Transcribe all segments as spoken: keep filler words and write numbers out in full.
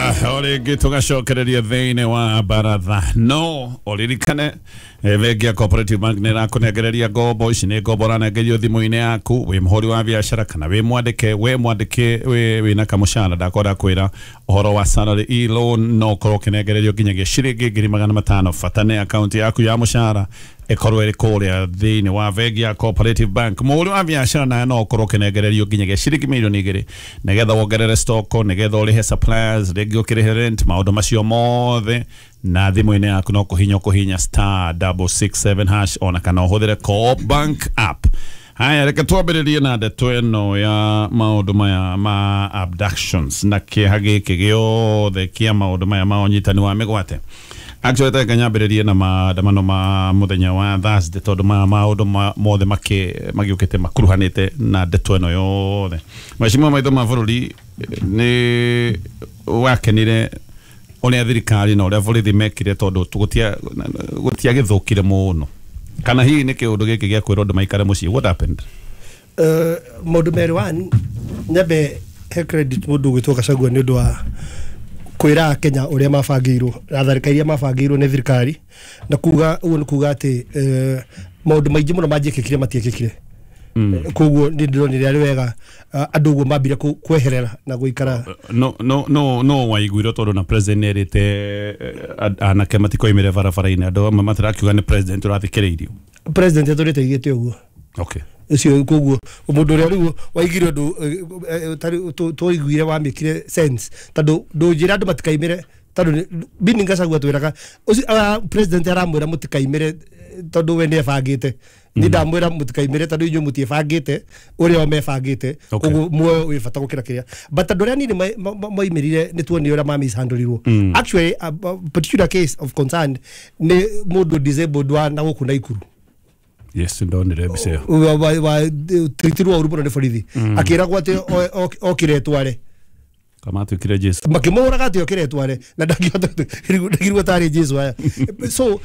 O rĩngĩ tũgacokereria thĩinĩ wa baratha no ũririkane eh, bengi ya Cooperative Bank nĩ ĩrakũnengereria ngombo ici. Nĩ ngombo ũranengerio thimũ-inĩ yaku wĩ mũhũri wa biacara kana wĩ mwandĩke we mwandĩke wĩ wĩna kamũcara. Ndakorwo ndakwĩra ũhoro wa salary e-loan, no ũkorwo ũkĩnengererio nginyagia ciringi ngiri magana matano. Bata nĩ akaunti yaku ya mũcara ĩkorwo ĩrĩ kũrĩa thĩinĩ wa bengi ya Cooperative Bank. Mũhũri wa biacara naye no ũkorwo ũkĩnengererio nginyagia ciringi mirioni igĩrĩ, nĩgetha wongerere stock, nĩgetha ũrĩhe suppliers, rĩngĩ ũkĩrĩhe rent, maũndũ macio mothe na thimũ-inĩ yaku no kũhinya kũhinya star double six seven hash, ona kana ũhũthĩre Co-op Bank app. Haya, reke twambĩrĩrie na ndeto ĩno ya maũndũ maya ma abductions na kĩeha gĩkĩ gĩothe kĩa maũndũ maya ma ũnyitani wa mĩgwate. Actually, reke nyambĩrĩrie na maandamano ma mũthenya wa Thursday, tondũ maya maũndũ ma- mothe makĩ- magĩũkĩte makuruhanĩte na ndeto ĩno yothe. Mheshimiwa maitho ma bũrũri, nĩ wakenire ũrĩa thirikari na ũrĩa borithi mekire, tondũ gũtia gũtiagĩthũkire mũno, kana hihi nĩ kĩũndũ gĩkĩ gĩa kwĩrwo andũ maikare mũciĩ? What happened? Uh, maũndũ merĩ. One, nyambe he credit mũndũ ũgwĩtwo Gachagua nĩ ũndũ wa kwĩra Akenya ũrĩa mabangĩirwo na tharĩka iria mabangĩirwo nĩ thirikari, na kuga ũguo nĩ kuga atĩ eh, maũndũ maingĩ mũno manjĩkĩkire matiĩkĩkire. Mm. Koguo nĩ ndĩronire arĩ wega uh, andũ ũguo mambire kũ- kweherera na gũikara. no no no no waiguire tondũ na president nĩerĩte eh, anake matikoimĩre barabara-inĩ. Andũ amwe matirakiuga nĩ president ũrathikĩrĩirio. President atũrĩte aigĩte ũguo. Okay ũcio koguo mũndũ ũrĩa rĩu waigire ũndũ eh, eh, tarĩ- tũ- twaiguire wamĩkire sense, tondũ ndũnjĩra andũ matikaimĩre, tondũ nĩ- meaning Gachagua twĩraga ũcio ah, president aramwĩra mũtikaimĩre eh, tondũ we nĩ ebangĩte. Niĩ ndamwĩra mũtikaimĩre tondũ inyuĩ mũtiĩbangĩte ũrĩa o mebangĩte. Okay. Koguo muoyo wĩ bata gũkĩra kĩrĩa, but andũ arĩa anini ma- ma- ma- moimĩrire nĩ tuonire ũrĩa ma-mishandlirwo. Actually, a, a particular case of concern nĩ mũndũ disabled wa na gũkũ Naikuru. Yes, ndonire mbica ĩyo. Wa wa wa tiritirwo ũru mũno nĩ borithi, akĩragwo atĩ o- o- okire tware. Kamatuĩkire Jesu. Makĩmũhũraga atĩ okire tware na ndangĩhota, ndagirwo tarĩ Jesu aya. So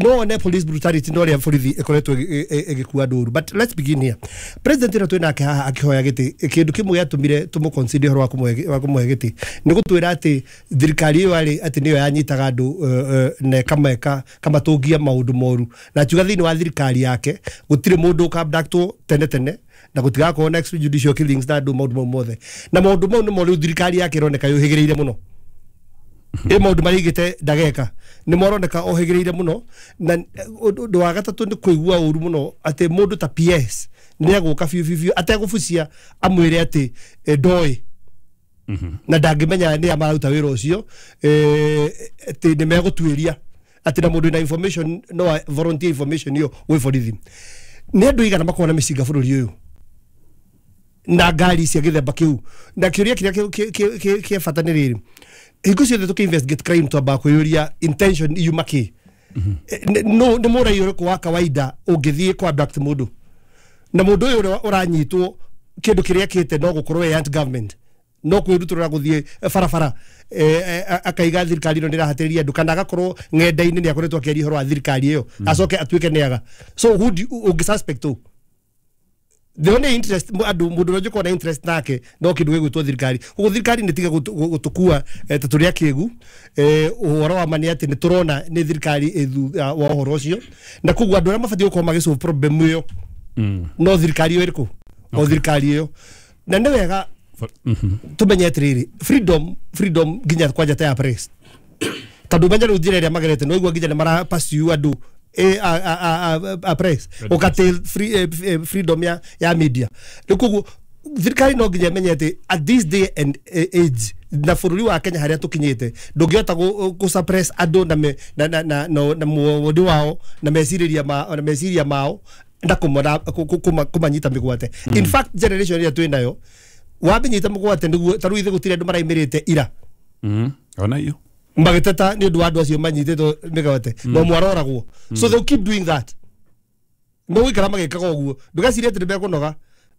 no one police brutality no ũrĩa borithi ĩkoretwo ĩgĩ- ĩ- ĩgĩkua andũ ũru. But let's begin here. President ĩno twĩ nake haha akĩhoya gĩtĩ, kĩndũ kĩmwe gĩatũmire tũmũ consider ũhoro wa kũmũhe wa kũmũhe gĩtĩ nĩ gũtwĩra atĩ thirikari ĩyo arĩ atĩ nĩyo yanyitaga andũ eh, eh, na ĩkameka kamatũngia maũndũ moru, na akiuga thĩinĩ wa thirikari yake gũtirĩ mũndũ ũkabductwo tene tene na gũtigakorwo na extrajudicial killings na andũ maũndũ mau mothe. Na maũndũ mau nĩmo rĩu thirikari yake ĩroneka yũhĩgĩrĩire mũno. Ĩ maũndũ marĩa aigĩte ndageka nĩ moroneka ohĩgĩrĩire mũno. Na eh, ũndũ ũndũ wa gatatũ nĩ kũigua ũru mũno atĩ mũndũ ta P S nĩ egũka biũ biũ biũ ategũbucia amwĩre atĩ eh, ndoĩ na ndangĩmenya nĩ a mararuta wĩra ũcio, eh, atĩ nĩ megũtuĩria, atĩ na mũndũ wĩna information no a- volunteer information ĩyo gwĩ borithi. Nĩ andũ igana makoragwo na mĩcinga bũrũri ũyũ na ngari cia gĩthemba kĩu? Na kĩũria kĩrĩa kĩ- kĩ- kĩ- kĩ- kĩa bata nĩ rĩrĩ: hingo ciothe tũkĩ investigate crime twambaga kwĩyũria intention yuma kĩ. Nĩ- no nĩ mũrai ũrĩkũ wa kawaida ũngĩthiĩ kwa abduct mũndũ, na mũndũ ũyũ ũrĩa ũranyitwo kĩndũ kĩrĩa ekĩte no gũkorwo ĩ anti government, no kwĩrutũrũra gũthiĩ barabara eh, eh, akaiga thirikari ĩno nĩ ĩrahatĩrĩria andũ, kana agakorwo ng'enda-inĩ nĩ akoretwo akĩaria ũhoro wa thirikari ĩyo, acoke atuĩke nĩ aga? So who do you- ũngĩ suspect ũ? The only interest mu- andũ mũndũ ũrĩa njũkorwo na interest nake no kĩndũ gĩgwĩtwo thirikari. Koguo thirikari nĩ tige gũtũkua eh, ta tũrĩ akĩgu. eh, ũhoro wa ma nĩ atĩ nĩ tũrona nĩ thirikari ĩ thutha wa ũhoro ũcio, na koguo andũ arĩa mabatiĩ gũkorwo magĩ solve problem ĩyo no thirikari ĩyo ĩrĩkũ, o thirikari ĩyo. Na nĩ wega tumenye atĩrĩrĩ, freedom freedom nginya kwanja ta ya press, tondũ menya rĩu njĩra ĩrĩa magerete no igua nginya nĩ mara pursue andũ eh, a, a, a, a, a press ũkatĩ free, eh, eh, freedom ya, ya media. Rĩu koguo thirikari no nginya ĩmenye atĩ at this day and eh, age na bũrũri wa Kenya harĩa tũkinyĩte, ndũngĩhota gũ- gũ suppress andũ na, me, na, na, na, na, na muondi wao na mecirĩria ma, na meciria mao na kũmona kũ- kũ- kũma- kũmanyita mĩgwate. In fact, generation ĩrĩa twĩ nayo wamĩnyita mũgwate nĩguo ta rĩu ithuĩ gũtirĩ andũ maraimĩrĩte ira Mm. Ona iyo. Magĩteta nĩ ũndũ wa andũ acio manyitĩtwo mĩgwate no mwaroragwo. So they'll keep doing that, megũikara magĩkaga ũguo. Ndũgecirie atĩ nĩ mekũnoga,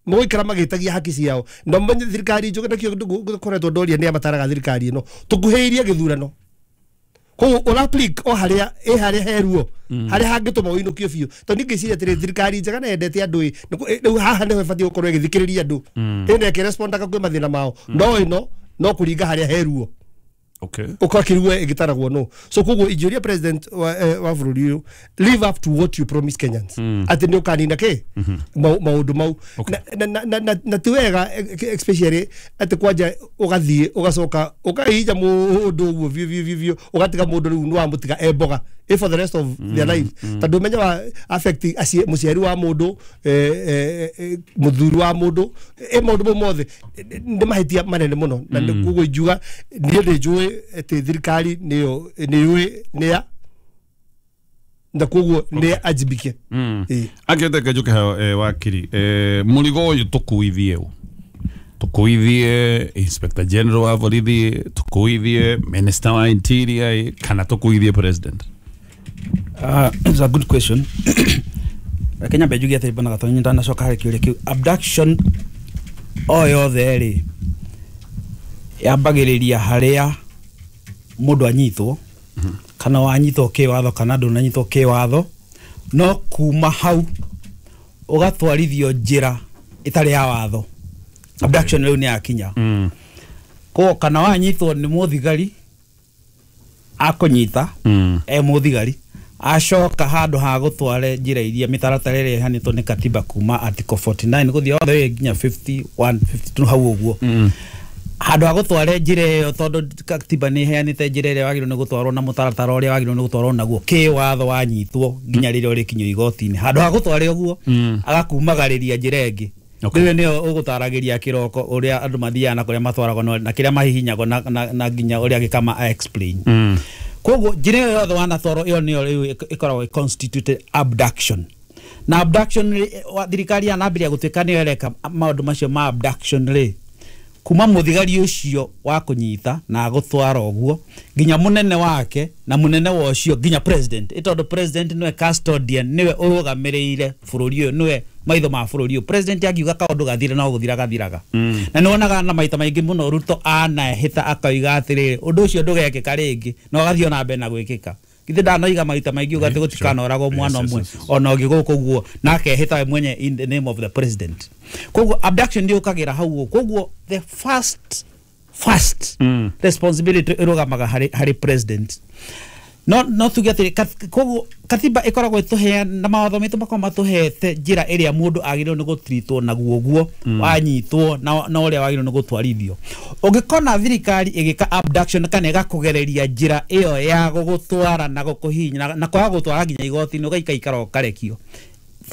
megũikara magĩtagia haki ciao. Na menye thirikari njũke nakĩo ngoretwo ndoria nĩ amataraga thirikari ĩno tũkuhĩrĩirie gĩthurano, koguo ũra apply o harĩa ĩ harĩa heruo harĩa hangĩtũma ũinũkio biũ, tondũ niĩ ngĩciria atĩrĩ, thirikari njega na yendete andũ ĩ nĩ kũ- ĩ, rĩu haha nĩho ĩbatiĩ gũkorwo ĩgĩthikĩrĩria andũ, ĩna ĩkĩrespondaga kwĩ mathĩna mao, no ĩno no kũringa harĩa heruo. Okay. Ukakirigwe ĩgĩtaragwo no. So koguo ingĩũria president wa, eh, wa bũrũri ũyũ, live up to what you promise Kenyans, atĩ nĩ ũkanina kĩ maũndũ mau. na, na, na, na, na ti wega, especially atĩ kwanja ũgathiĩ ũgacoka ũkahihinya mũndũ ũguo biũ biũ biũ biũ, ũgatiga mũndũ rĩu nĩ wamũtiga e mboga eh, for the rest of their life, tondũ ũmenye wa affect acie- mũciari wa mũndũ, eh, eh, eh, mũthuri wa mũndũ, eh, maũndũ mau mothe nĩ mahĩtia manene mũno. Na nĩ koguo ingiuga niĩ nĩ njũĩ atĩ thirikari nĩyo nĩ yũĩ nĩa na koguo nĩ ajibike. Ĩĩ. Akĩte njuke hao, eh, wakiri, eh, mũrigo ũyũ tũkuithie ũ? Tũkuithie Inspector General wa borithi, tũkuithie Minister wa Interior, kana tũkuithie President? Uh, it's a good question. Reke nyambe njuge atĩ bwana Gatonyi, ndanacoka harĩ kĩũria kĩu, abduction o yothe rĩ yambagĩrĩria harĩa mũndũ anyitwo, kana wanyitwo kĩwatho kana ndũnanyitwo kĩwatho, no kuma hau ũgatwarithio njĩra ĩtarĩ ya watho, abduction rĩu nĩ yakinya. mm. Koguo kana wanyitwo nĩ mũthigari akũnyita, Mm. e mũthigari acoka handũ ha gũtware njĩra iria mĩtaratara ĩrĩa ĩhanĩtwo nĩ katiba kuma article forty-nine gũthiĩ othe way nginya fifty-one fifty-two hau ũguo, Mm. handũ ha gũtware njĩra ĩyo, tondũ katiba nĩ ĩheanĩte njĩra ĩrĩa wagĩrĩirwo nĩ gũtwarwo na mũtaratara ũrĩa wagĩrĩirwo nĩ gũtwarwo naguo kĩwatho wanyitwo nginya rĩrĩa ũrĩkinyio igoti-inĩ, handũ ha gũtware ũguo, Mm. agakumagarĩria njĩra ĩngĩ. Okay. Rĩu nĩyo ũgũtaragĩria kĩroko ũrĩa andũ mathiaga na kũrĩa matwaragwo na na kĩrĩa mahihinyagwo na, na, na nginya ũrĩa gĩkama explain. Mm. Koguo njĩra ĩyo yothe wanatwarwo ĩyo nĩyo rĩu ĩk- ĩkoragwo ĩ constituted abduction. Na abduction rĩ, wa- thirikari yanambĩrĩria gũtuĩka nĩyo ĩreka maũndũ macio ma abduction rĩ, kuma mũthigari ũcio wa kũnyita na agũtwara ũguo nginya mũnene wake na mũnene wa ũcio nginya president, ĩ tondũ president nĩwe custodian, nĩwe ũrũgamĩrĩire bũrũri ũyũ, nĩwe maitho ma bũrũri ũyũ. President angiuga kaũndũ gathire, no gũthira gathiraga. Mm. Na nĩwonaga na maita maingĩ mũno Ruto anahĩta akauga atĩrĩrĩ, ũndũ ũcio ndũgekĩka rĩngĩ, na ũgathiĩ ona mbere na gwĩkĩka. Githĩ ndanoiga maita maingĩ uga atĩ Eh, gũtikanoragwo sure. mwana Yes, ũmwe yes, yes, yes. ona ũngĩ gũkũ ũguo, na akehĩta we mwenye in the name of the president. Koguo abduction ndĩũkagĩra hau ũguo. Koguo the first first Mm. responsibility ĩrũgamaga harĩ harĩ president. no no tuge atĩrĩ, kat- koguo katiba ĩkoragwo ĩtũhea na mawatho maitũ makoragwo matũhete njĩra ĩrĩa mũndũ agĩrĩirwo nĩ gũtritwo naguo ũguo wanyitwo, na na ũrĩa wagĩrĩirwo nĩ gũtwarithio. Ũngĩkona thirikari ĩgĩka abduction kana ĩgakũgereria njĩra ĩyo ya gũgũtwara na gũkũhihinya na, na kwaga gũtwara nginya igoti-inĩ, ũgaikaikara ũkarekio,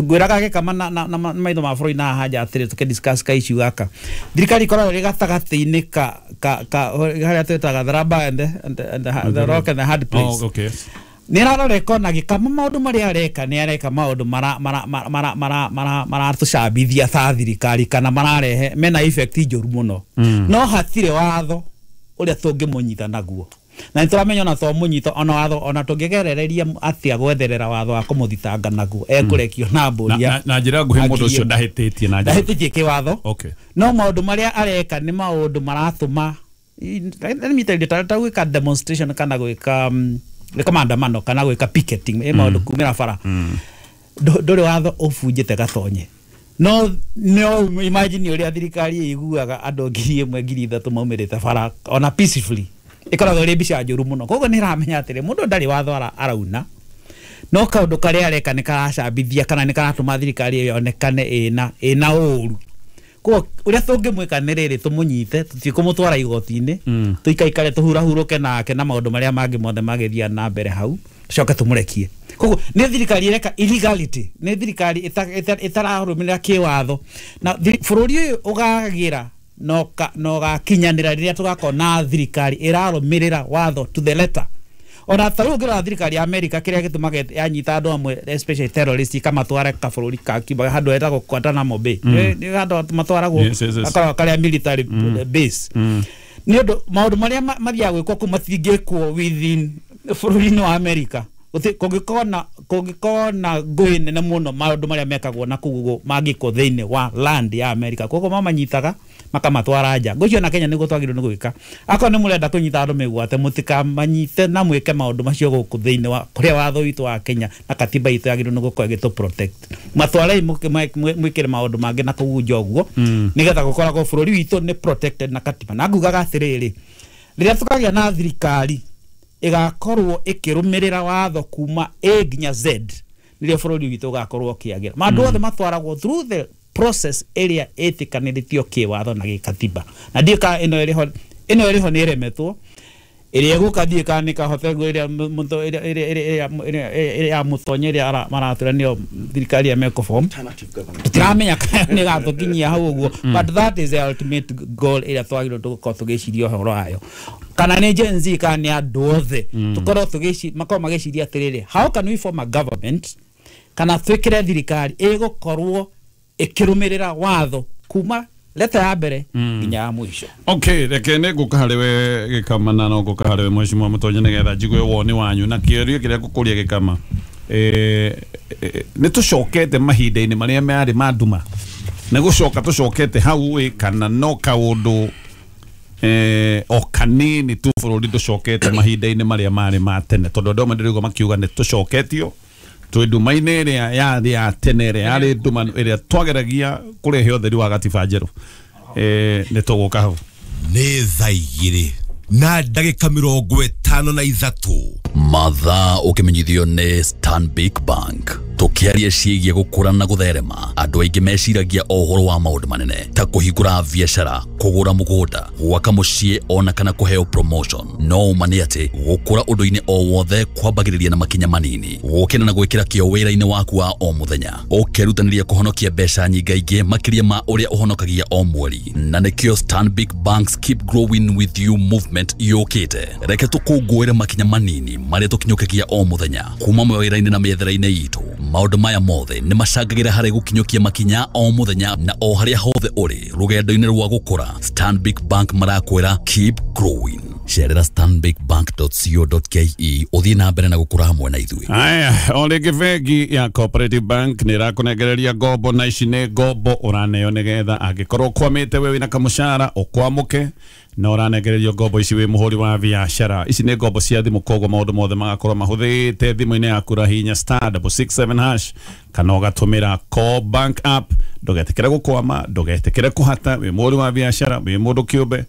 ngwĩraga gĩkama na, na, na, na maitho ma bũrũri na haha nja atĩrĩ, tũkĩ discuss ka issue gaka, thirikari ĩkoragwo ĩrĩ gatagatĩ-inĩ ka ka ka harĩa twĩtaga the rubber and the, and the, and the, the rock and the hard place. Oh, okay. Nä ararora ĩkona gĩkama maũndũ marĩa areka, nĩ areka maũndũ maratũcambithia ta thirikari kana mararehe mena effect njũru mũno, no hatirĩ watho ũrĩa tũngĩmũnyita naguo, na nĩ tũramenya ona twamũnyita, ona watho ona tũngĩgerereria atĩa gwetherera watho wa kũmũthitanga naguo, ekũrekio na mbũri. Na, na, na njĩra nguhĩ mũndũ ũcio ndahĩtĩtie na njĩra ndahĩtĩtie kĩwatho. Okay. No maũndũ marĩa areka nĩ maũndũ maratũma, let me tell you, ta ta gwĩka demonstration kana gwĩka um, gwĩka maandamano kana gwĩka picketing, ĩ maũndũ kumĩra bara, Ndũ- ndũrĩ watho ũbunjĩte gatonye. No no imagine ũrĩa thirikari ĩiguaga andũ ngiri ĩmwe ngiri ithatũ maumĩrĩte bara ona peacefully, ĩkoragwo ĩrĩ mbica njũru mũno. Koguo nĩ ĩramenya atĩrĩ, mũndũ ndarĩ watho ara- arauna, no kaũndũ karĩa areka nĩ karacambithia kana nĩ karatũma thirikari ĩyo yonekane ĩna ĩna ũru. Koguo ũrĩa tũngĩmwĩka nĩ rĩrĩ, tũmũnyite, tũthiĩ kũmũtwara igoti-inĩ, tũikaikare tũhurahurũke nake na maũndũ marĩa mangĩ mothe magĩthiaga na mbere hau, tũcoke tũmũrekie. Koguo nĩ thirikari ĩreka illegality, nĩ thirikari ĩta- ĩta- ĩtararũmĩrĩra kĩwatho, na thiri- bũrũri ũyũ ũgagĩra na ũka- na ũgakinyanĩra rĩrĩa tũgakorwo na thirikari ĩrarũmĩrĩra watho to the letter. Ona ta rĩu ũngĩrora thirikari ya America, kĩrĩa gĩtũmaga yanyita andũ amwe, especially terrorist, ikamatwara kabũrũri ka Cuba handũ hetagwo Guantanamo Bay. Nĩ nĩ handũ matwaragwo, Yes, yes, yes. gakoragwo karĩa military base, nĩ ũndũ maũndũ marĩa ma- mathiaga gwĩkwo kũu matingĩkwo within bũrũri-inĩ wa America. Gũti- kũngĩkorwo na kũngĩkorwo na ngũĩ nene mũno, maũndũ marĩa mekagwo na kũu ũguo mangĩkwo thĩinĩ wa land ya America. Koguo mamanyitaga makamatwara nja. Ngũcio na Kenya nĩguo twagĩrĩirwo nĩ gwĩka. Akorwo nĩ mũrenda kũnyita andũ mĩgwate, mũtikamanyite na mwĩke maũndũ macio gũkũ thĩinĩ wa kũrĩa watho witũ wa Kenya na katiba itũ yagĩrĩirwo nĩ gũkorwo ĩgĩtũ protect. Matwarei mũke- mwe- mwe- mwĩkĩre maũndũ mangĩ na kũu nja ũguo, nĩgetha gũkoragwo bũrũri witũ nĩ protected na katiba. Na ngugaga atĩrĩrĩ, Rĩrĩa tũkagĩa na thirikari ĩgakorwo ĩkĩrũmĩrĩra watho kuma A nginya Z, nĩrĩo bũrũri witũ ũgakorwo ũkĩagĩra. Maũndũ othe matwaragwo through the process ĩrĩa ĩtĩkanĩrĩtio kĩwatho na gĩkatiba. Na ndiũĩ kana ĩno ĩrĩho, ĩno ĩrĩho nĩ ĩremetwo, ĩrĩa ĩgũka ndiũĩ kana nĩ kahote ĩrĩa ĩrĩa ya mũtonyo ĩrĩa maratwĩra nĩyo thirikari ĩrĩa mekũform, tũtiramenya kana nĩ ĩgatũkinyia hau ũguo, but that is the ultimate goal ĩrĩa twagĩrĩirwo tũgũkorwo tũgĩciria ũhoro wayo. Kana nĩ Gen Z kana nĩ andũ othe, tũkorwo tũgĩci makorwo magĩciria atĩrĩrĩ, how can we form a government kana twĩkĩre thirikari ĩgũkorwo ĩkĩrũmĩrĩra watho kuma leta ya mbere nginya ya mũico. Okay, reke nĩ ngũka harĩ we Gĩkama na no ngũka harĩ we Mheshimiwa Mũtonyo nĩgetha njigue woni wanyu na kĩũria kĩrĩa ngũkũria Gĩkama. Eh, nĩ tũcokete mahinda-inĩ marĩa marĩ ma nduma, nĩ gũcoka tũcokete hau ĩ kana no kaũndũ eh, o kanini tu bũrũri tũcokete mahinda-inĩ marĩa marĩ ma tene, tondũ andũ amwe ndĩraigua makiuga nĩ tũcoketio twĩ nduma-inĩ ĩrĩa yarĩ ya tene, ĩrĩa yarĩ nduma ĩrĩa twageragia kũrehe ũtheri wa gatiba njerũ. Eh, nĩ tũgũka hau. Nĩ thaa igĩrĩ na ndagĩka mĩrongo ĩtano na ithatũ. Mathaa ũkĩmenyithio nĩ Stanbic Bank. Tũkĩaria ciĩgiĩ gũkũra na gũtherema, andũ aingĩ meciragia o ũhoro wa maũndũ manene ta kũhingũra biacara, kũgũra mũgũnda, gwaka mũciĩ ona kana kũheo promotion. No ũma nĩ atĩ gũkũra ũndũ-inĩ o wothe kwambagĩrĩria na makinya manini, gũkĩra na gwĩkĩra kĩo wĩra-inĩ waku wa o mũthenya, ũkerutanĩria kũhonokia mbeca nyingaingĩ makĩria ma ũrĩa ũhonokagia o mweri. Na nĩkĩo Stanbic Bank's Keep Growing With You movement yũkĩte. Reke tũkũngũĩre makinya manini marĩa tũkinyũkagia o mũthenya kuma mawĩra-inĩ na mĩethere-inĩ itũ. Maũndũ maya mothe nĩ macangagĩra harĩ gũkinyũkia makinya o mũthenya na o harĩa hothe ũrĩ rũgendo-inĩ rwa gũkũra. Stanbic Bank marakwĩra keep growing. Cerera stanbic bank dot co dot ke ũthiĩ na mbere na gũkũra hamwe na ithuĩ. Aya, o rĩngĩ bengi ya Cooperative Bank nĩ ĩrakũnengereria ngombo, na ici nĩ ngombo ũraneo nĩgetha angĩkorwo ũkwamĩte we wĩna kamũcara ũkwamũke, na ũranengererio ngombo ici wĩ mũhũri wa biacara. Ici nĩ ngombo cia thimũ, koguo maũndũ mothe magakorwo mahũthĩte thimũ-inĩ yaku, rahinya star double six seven hash kana ũgatũmĩra Co Bank app. Ndũgetĩkĩre gũkwama, ndũgetĩkĩre kũhata, wĩ mũhũri wa biacara, wĩ mũndũ kĩũmbe,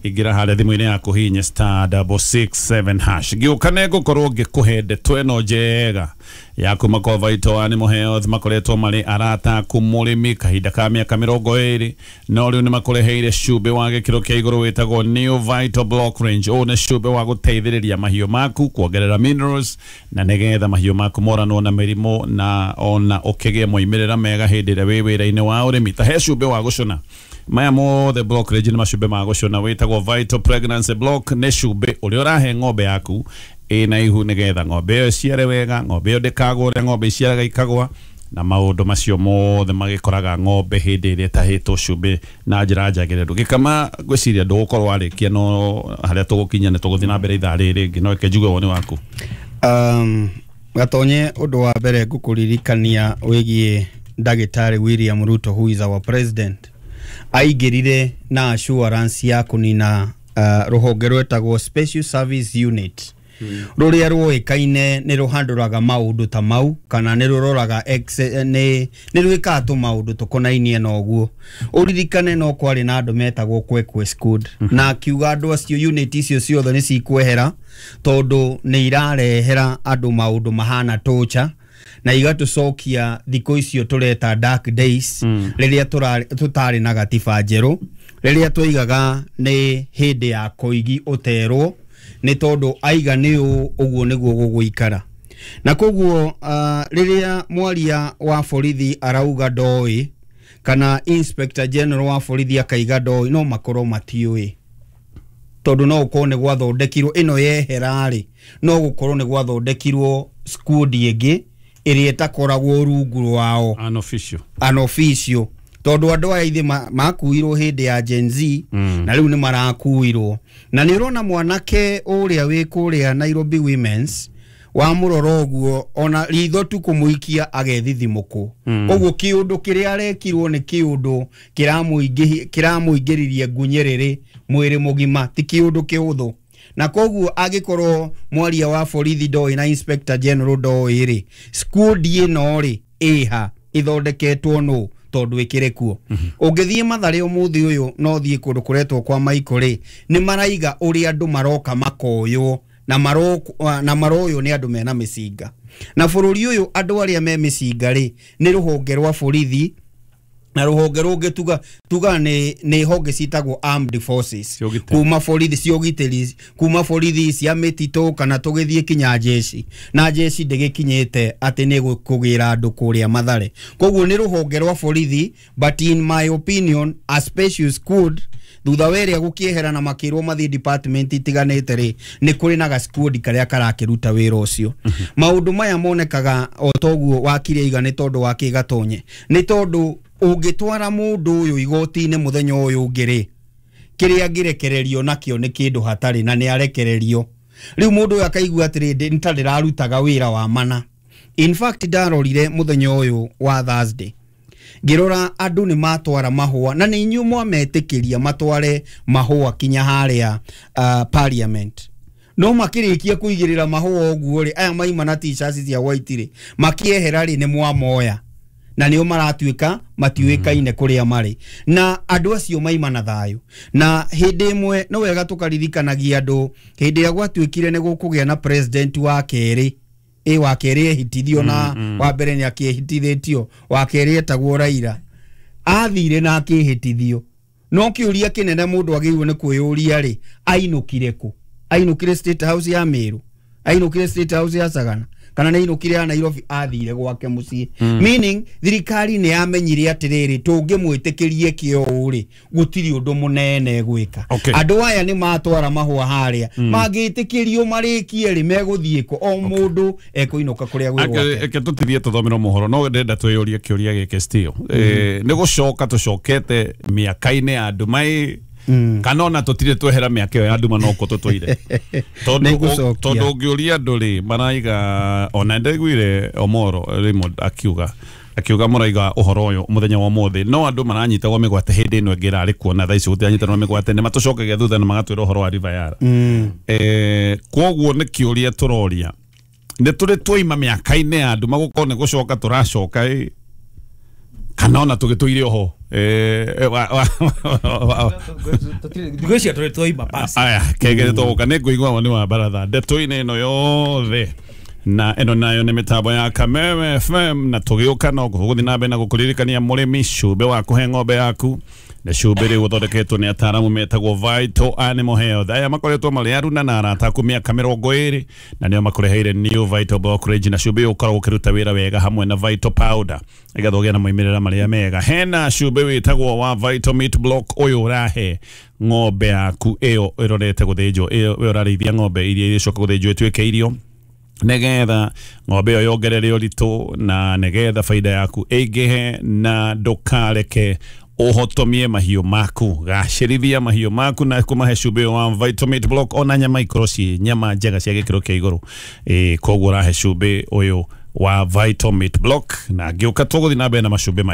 ingĩra harĩa thimũ-inĩ yaku hinya star double six seven hash. Ngĩũka nĩ ngũkorwo ngĩkũhe ndeto ĩno njega ya kuma kwa Vital Animal Health. Makoretwo marĩ arata aku mũrĩmi kahinda ka mĩaka mĩrongo ĩrĩ, no rĩu nĩ makũreheire cumbĩ wa gĩkĩro kĩa igũrũ wĩtagwo New Vital Block Range. Ũyũ nĩ cumbĩ wa gũteithĩrĩria mahiũ maku kuongerera minerals na nĩgetha mahiũ maku moranwo na mĩrimũ na ona ũkĩgĩe moimĩrĩra mega hĩndĩ ĩrĩa wĩ wĩra-inĩ wa ũrĩmi. Ta he cumbĩ wa gũcũna, maya mothe block range nĩ macumbĩ ma gũcũna, wĩtagwo Vital Pregnancy Block. Nĩ cumbĩ ũrĩa ũrahe ng'ombe yaku ĩna ihu nĩgetha ng'ombe ĩyo ĩciare wega, ng'ombe ĩyo ndĩkagũre, ng'ombe iciaraga ikagwa, na maũndũ macio mothe magĩkoraga ng'ombe hĩndĩ ĩrĩa ĩtahĩtwo cumbĩ na njĩra njagĩrĩru. Gĩkama ngwĩciria ndũgũkorwo warĩkia, no harĩa tũgũkinya nĩ tũgũthiĩ na mbere ithaa rĩrĩ rĩngĩ, no reke njigue woni waku. Um, Gatonye, ũndũ wa mbere ngũkũririkania wĩgiĩ ndagĩtarĩ William Ruto, who is our president, aingĩrire na assurance ya kũnina uh, rũhonge rwetagwo Special Service Unit, rũrĩa rũĩkaine nĩ rũhandũraga maũndũ ta mau kana nĩ rũroraga nĩ rwĩkaga tũmaũndũ tũkonainie na ũguo. Ũririkane no kwarĩ na andũ metagwo Kwekwe Squad, na akiuga andũ acio unit icio ciothe nĩ cikwehera tondũ nĩ irarehera andũ maũndũ mahana torture na igatũcokia thikũ icio tũreta dark days, rĩrĩa tũtarĩ na gatiba njerũ, rĩrĩa twoigaga nĩ hĩndĩ ya koigi ũterwo nĩ tondũ aiga nĩ ũguo nĩguo gũgũikara. Na koguo rĩrĩa mwaria wa borithi arauga ndoĩ kana Inspector General wa borithi akaiga ndoĩ, no makorwo matiũĩ, tondũ no gũkorwo nĩ gwathondekirwo ĩno yehera rĩ, no gũkorwo nĩ gwathondekirwo squad ĩngĩ ĩrĩa ĩtakoragwo rungu rwao, unofficial unofficial, tondũ andũ aya ithe makuirwo hĩndĩ ya Gen Z, na rĩu nĩ marakuirwo. Na nĩ ũrona mwanake ũrĩa wĩ kũrĩa Nairobi Women's wamũrora ũguo ona ritho tu kũmũikia agethithimũkwo. Koguo kĩũndũ kĩrĩa arekirwo nĩ kĩũndũ kĩramũingĩririe ngunyĩrĩrĩ mwĩrĩ mũgima, ti kĩũndũ kĩhũthũ. Na koguo angĩkorwo mwaria wa borithi ndoĩ na Inspector General ndoĩ rĩ, squad ĩno rĩ ĩha ĩthondeketwo nũ? tondu ikire kuo. Ũngĩthiĩ Mathare ũmũthĩ ũyũ no thiĩ kũndũ kũretwo kwa Maiko rĩ, nĩ maraiga ũrĩa andũ maroka makoywo na maro na maroywo nĩ andũ mena mĩcinga. Na bũrũri ũyũ andũ arĩa me mĩcinga rĩ nĩ rũhonge rwa borithi na rũhonge rũngĩ tuga tuga nĩ nĩ honge citagwo armed forces kuma borithi cia ũgitĩri, kuma borithi cia mĩtitũ kana tũgĩthiĩ kinya jeshi, na jeshi ndĩgĩkinyĩte atĩ nĩ kũgĩra andũ kũrĩa Mathare. Koguo nĩ rũhonge rwa borithi, but in my opinion a special squad thutha wa ĩrĩa gũkĩehera na makĩrwo mathiĩ department itiganĩte rĩ, nĩ kũrĩ na ga squad karĩa karakĩruta wĩra ũcio. Maũndũ maya monekaga o toguo wakiri aiga nĩ tondũ wa kĩgatonye, nĩ tondũ ũngĩtwara mũndũ ũyũ igoti-inĩ mũthenya ũyũ ũngĩ rĩ, kĩrĩa angĩrekererio nakĩo nĩ kĩndũ hatarĩ na nĩ arekererio. Rĩu mũndũ ũyũ akaigua atĩrĩ, nĩ ta ndĩrarutaga wĩra wa mana. In fact ndarorire mũthenya ũyũ wa Thursday ngĩrora andũ nĩ matwara mahũa, na nĩ inyuĩ mwametĩkĩria matware mahũa kinya harĩa uh, parliament. No makĩrĩkia kũigĩrĩra mahũa ũguo rĩ, aya maima na t-shirts cia white rĩ, makĩehera rĩ nĩ mwamoya na nĩo maratuĩka matiũĩkaine kũrĩa marĩ, na andũ acio maima na thayũ. Na hĩndĩ ĩmwe no wega tũkaririkanagia andũ, hĩndĩ ĩrĩa gwatuĩkire nĩ gũkũgĩa na president wa kerĩ, ĩ wa kerĩ ehitithio na wa mbere nĩ akĩhitithĩtio, wa kerĩ etagwo Raila, athire na akĩhĩtithio. No kĩũria kĩnene mũndũ agĩrĩirwo nĩ kwĩyũria rĩ, ainũkire kũ? Ainũkire State House ya Meru, ainũkire State House ya Sagana, kana nĩ ainũkire ya Nairobi? Athire gwake mũciĩ. Meaning thirikari nĩ yamenyire atĩrĩrĩ, tũngĩmwĩtĩkĩrie kĩo rĩ, gũtirĩ ũndũ mũnene gwĩka. Andũ aya nĩ matwara mahũa harĩa, mangĩtĩkĩrio marĩkie rĩ, megũthiĩ kũ? O mũndũ ekũinũka kũrĩa gwĩ gwake. Reke tũtithie tũthomere mohoro, no ndĩrenda twĩyũrie kĩũria gĩkĩ still. Nĩ gũcoka tũcokete mĩaka-inĩ ya nduma ĩ, kana ona tũtirĩ twehera mĩaka ĩyo ya nduma no kũ tũtũire. Tondũ ũngĩũria andũ rĩ, maraiga ona ndaiguire Omoro Raymond akiuga akiuga mũraiga ũhoro ũyũ mũthenya wa ũmũthĩ, no andũ maranyitagwo mĩgwate hĩndĩ ĩno ĩngĩ ĩrarĩ kuo na thaa ici gũtiranyitanwo mĩgwate, nĩ matũcokagia thutha na magatwĩra ũhoro wa River Yala. Eh, kwoguo nĩ kĩũria tũroria, nĩ tũrĩ twaima mĩaka-inĩ ya nduma gũkorwo nĩ gũcoka tũracoka ĩ, kana ona tũgĩtũire oho. Eh, ngwĩciria tũrĩ twaima basi. Aya, kegere tũgũka nĩ ngũigua woni wa baratha ndeto-inĩ ĩno yothe, na ĩno nayo nĩ mĩtambo ya Kameme F M, na tũgĩũka no gũgũthiĩ na mbere na gũkũririkania mũrĩmi cumbĩ wa kũhe ng'ombe yaku nĩ cumbĩ rĩu ũthondeketwo nĩ ataaramu metagwo Vital Animal Health. Aya makoretwo marĩ aruna na arata aku mĩaka mĩrongo ĩrĩ, na nĩo makũreheire New Vital Bulk Range, na cumbĩ ũyũ ũkoragwo ũkĩruta wĩra wega hamwe na Vital Powder nĩgetha ũgĩe na moimĩrĩra marĩa mega. Hena cumbĩ wĩtagwo wa Vital Meat Block, ũyũ ũrahe ng'ombe yaku ĩyo ĩrorete gũthĩnjwo, ĩyo ũrarĩithia ng'ombe iria irĩcoka gũthĩnjwo ĩtuĩke irio, nĩgetha ng'ombe ĩyo yongerere ũritũ na nĩgetha baida yaku ĩingĩhe, na ndũkareke ũhotomie mahiũ maku. Gacĩrithia mahiũ maku na kũmahe cumbĩ wa Vital Meat Block, ona nyama ikorwo ciĩ nyama njega cia gĩkĩro kĩa igũrũ. Ĩ koguo ũrahe cumbĩ ũyũ wa Vital Meat Block, na ngĩũka tũgũthiĩ na mbere na macumbĩ maya.